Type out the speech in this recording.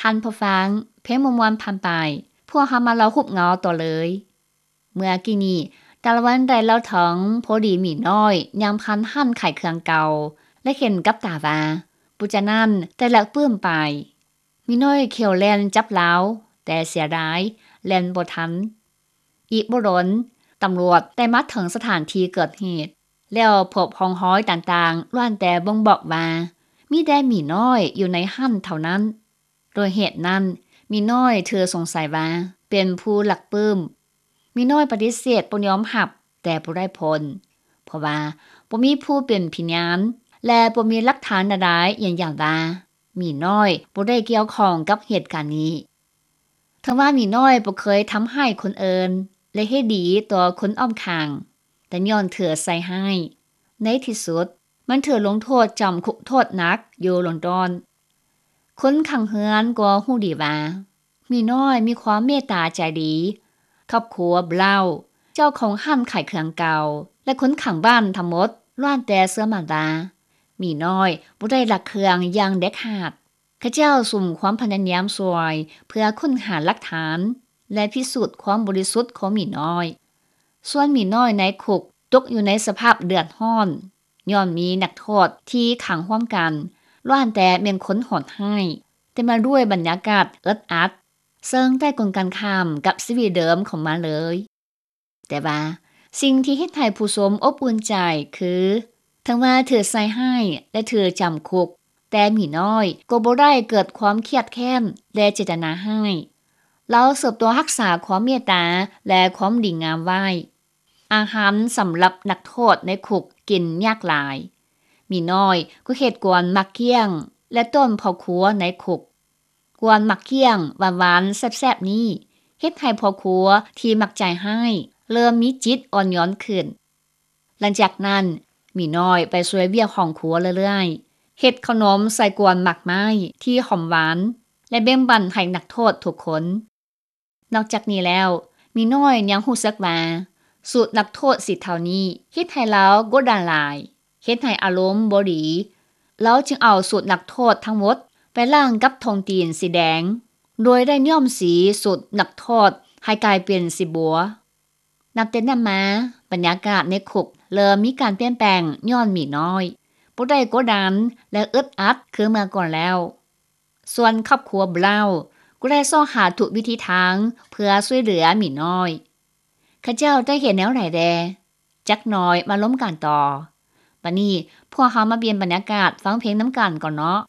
ທ່ານຜູ້ຟັງ, ເພງມ່ວນໆຜ່ານໄປ, ພວກເຮົາມາເລົ່າຮູບເງົາຕໍ່ເລີຍ. ເມື່ອກີ້ນີ້ ຕາລະວັນໄດ້ເລົ່າເຖິງພໍດີໝີນ້ອຍຍ່າງຜ່ານຮ້ານຂາຍເຄື່ອງເກົ່າ ແລະ ເຫັນກັບຕາວ່າ ຜູ້ຈານັ້ນໄດ້ລັກປຶ້ມໄປ. ໝີນ້ອຍຂ່ຽວແລ່ນຈັບລາວ, ແຕ່ເສຍດາຍ ແລ່ນບໍ່ທັນ. ອີກບໍ່ດົນ, ຕຳຫຼວດໄດ້ມາເຖິງສະຖານທີ່ເກີດເຫດ ແລ້ວພົບຮ່ອງຮອຍຕ່າງໆ ລ້ວນແຕ່ບົ່ງບອກວ່າ ມີແຕ່ໝີນ້ອຍຢູ່ໃນຮ້ານເທົ່ານັ້ນ. ດ້ວຍເຫດນັ້ນ, ໝີນ້ອຍຖືກສົງໄສວ່າເປັນຜູ້ລັກປຶ້ມ. ໝີນ້ອຍປະຕິເສດບໍ່ຍອມຮັບ, ແຕ່ບໍ່ໄດ້ຜົນ, ເພາະວ່າບໍ່ມີຜູ້ເປັນພະຍານ ແລະ ບໍ່ມີຫຼັກຖານໃດໆຢືນຢັນວ່າ ໝີນ້ອຍບໍ່ໄດ້ກ່ຽວຂ້ອງກັບເຫດການນີ້. ເຖິງວ່າໝີນ້ອຍບໍ່ເຄີຍທຳຮ້າຍຄົນອື່ນ ແລະ ເຮັດດີຕໍ່ຄົນອ້ອມຂ້າງ, ແຕ່ຍ້ອນຖືກໃສ່ຮ້າຍ, ໃນທີ່ສຸດ ມັນຖືກລົງໂທດຈຳຄຸກໂທດໜັກຢູ່ລອນດອນ. ຄົນຂ້າງເຮືອນກໍຮູ້ດີວ່າ ໝີນ້ອຍມີຄວາມເມດຕາໃຈດີ. ຄອບຄົວ Brown ເຈົ້າຂອງຮ້ານຂາຍເຄື່ອງເກົ່າ ແລະ ຄົນຂ້າງບ້ານທັງໝົດ ລ້ວນແຕ່ເຊື່ອໝັ້ນວ່າ ໝີນ້ອຍບໍ່ໄດ້ລັກເຄື່ອງຢ່າງເດັດຂາດ. ເຂົາເຈົ້າສຸມຄວາມພະຍາຍາມຊ່ວຍເພື່ອຄົ້ນຫາຫຼັກຖານ ແລະ ພິສູດຄວາມບໍລິສຸດຂອງໝີນ້ອຍ. ສ່ວນໝີນ້ອຍໃນຄຸກຕົກຢູ່ໃນສະພາບເດືອດຮ້ອນ ຍ້ອນມີນັກໂທດທີ່ຂັງຮ່ວມກັນ ລ້ວນແຕ່ແມ່ນຄົນໂຫດຮ້າຍ, ເຕັມມາດ້ວຍບັນຍາກາດອຶດອັດ, ເຊິ່ງໄດ້ກົງກັນຂ້າມກັບຊີວິດເດີມຂອງມັນເລີຍ. ແຕ່ວ່າສິ່ງທີ່ເຮັດໃຫ້ຜູ້ຊົມອົບອຸ່ນໃຈຄື ເຖິງວ່າຖືກໃສ່ຮ້າຍ ແລະ ຖືກຈຳຄຸກ, ແຕ່ໝີນ້ອຍກໍບໍ່ໄດ້ເກີດຄວາມຄຽດແຄ້ນ ແລະ ເຈດຕະນາຮ້າຍ. ລາວສືບຕໍ່ຮັກສາຄວາມເມດຕາ ແລະ ຄວາມດີງາມໄວ້. ອາຫານສຳລັບນັກໂທດໃນຄຸກກິນຍາກຫຼາຍ. ໝີນ້ອຍກໍເຮັດກວນໝາກກ້ຽງ ແລະ ຕົ້ມເຂົ້າຄົວໃນຄຸກ. ກວນໝາກກ້ຽງຫວານໆແຊບໆນີ້ ເຮັດໃຫ້ພໍ່ຄົວທີ່ມັກໃຈຮ້າຍເລີ່ມມີຈິດອ່ອນໂຍນຂຶ້ນ. ຫຼັງຈາກນັ້ນ, ໝີນ້ອຍໄປຊ່ວຍວຽກຫ້ອງຄົວເລື້ອຍໆ, ເຮັດເຂົ້າໜົມໃສ່ກວນໝາກໄມ້ທີ່ຫອມຫວານ ແລະ ແບ່ງປັນໃຫ້ນັກໂທດທຸກຄົນ. ນອກຈາກນີ້ແລ້ວ, ໝີນ້ອຍຍັງຮູ້ສຶກວ່າ ສູດນັກໂທດສີເທົານີ້ເຮັດໃຫ້ລາວກົດດັນຫຼາຍ, ເຮັດໃຫ້ອາລົມບໍ່ດີ. ລາວຈຶ່ງເອົາສູດນັກໂທດທັງໝົດໄປລ້າງກັບຖົງຕີນສີແດງ, ໂດຍໄດ້ຍ້ອມສີສູດນັກໂທດໃຫ້ກາຍເປັນສີບົວ. ນັບແຕ່ນັ້ນມາ, ບັນຍາກາດໃນຄຸກເລີ່ມມີການປ່ຽນແປງຍ້ອນໝີນ້ອຍບໍ່ໄດ້ກົດດັນ ແລະ ອຶດອັດຄືເມື່ອກ່ອນແລ້ວ. ສ່ວນຄອບຄົວ Brown ກໍໄດ້ຊອກຫາທຸກວິທີທາງເພື່ອຊ່ວຍເຫຼືອໝີນ້ອຍ. ເຂົາເຈົ້າໄດ້ເຮັດແນວໃດແດ່? ຈັກໜ່ອຍມາລົມກັນຕໍ່. ບັດນີ້ພວກເຮົາມາປ່ຽນບັນຍາກາດຟັງເພງນຳກັນກ່ອນເນາະ.